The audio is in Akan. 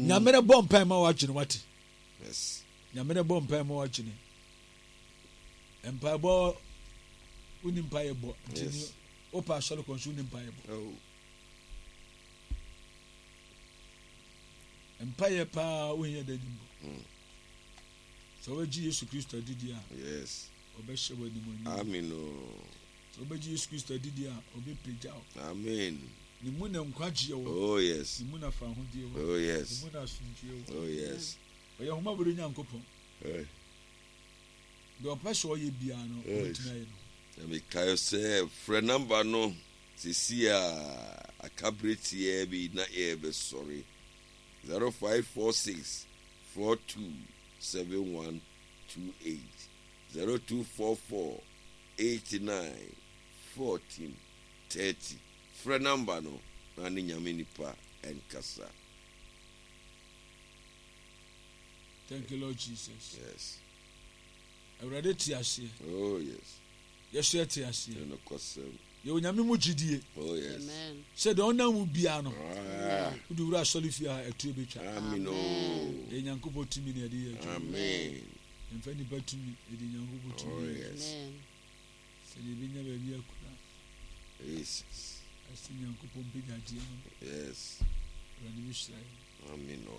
Nyame no bɔ mpae ma w'adwene wate. Yes. Nyame no bɔ mpae ma w'adwene. Mpaebɔ wonni mpaeɛ bɔ nti ni wopɛ asɔre kɔ nso wonni mpaeɛ bɔ. Oh. Mpaeɛ paa wohia da nim bɔ. Mm. Sɛ wobɛgye Yesu Kristo adidi a. Yes. Ɔbɛhyɛ wɔ animuonyam. Amen. Oh. Sɛ wobɛgye Yesu Kristo adidi a, ɔbɛpagya wo. Amen. Ne mu na nkwagyeɛ wɔ. Oh yes. Ne mu na fahodie wɔ. Oh yes. Ne mu na asomdwoeɛ wɔ. Oh yes. Ɔyɛ ahomabɔdɔ Nyankopɔn. Eh. Deɛ ɔpɛ sɛ ɔyɛ biara no, ɔbɛtumi ayɛ no. Na mekae sɛ frɛ namba no sisi a aka bere tiaa bi na yɛrebɛsɔre. 0546 42 7128 0244 89 14 30 Frɛ number no na ne Nyame nipa nkasa. Thank you Lord Jesus. Yes. Awurade te aseɛ. Oh yes. Yɛso yɛte aseɛ. Ɛnokwasɛm. Yɛwɔ Nyame mu gyidie. Oh yes. Sɛ deɛ ɔnam mu biara no. Ah. Wode wura asɔre fie a ɛtuo bɛtwa. Amen o. Ɛyɛ Nyankopɔn tumi na yɛde yɛ adwuma. Amen. Yɛmfa nnipa tumi, yɛde Nyankopɔn tumi. Oh yes. Sɛdeɛ yɛbɛnya baabi akura. Jesus. Ɛsɛ Nyankopɔn mpagyadeɛ no. Yes. Awurade bɛhyira yɛn. Amen o.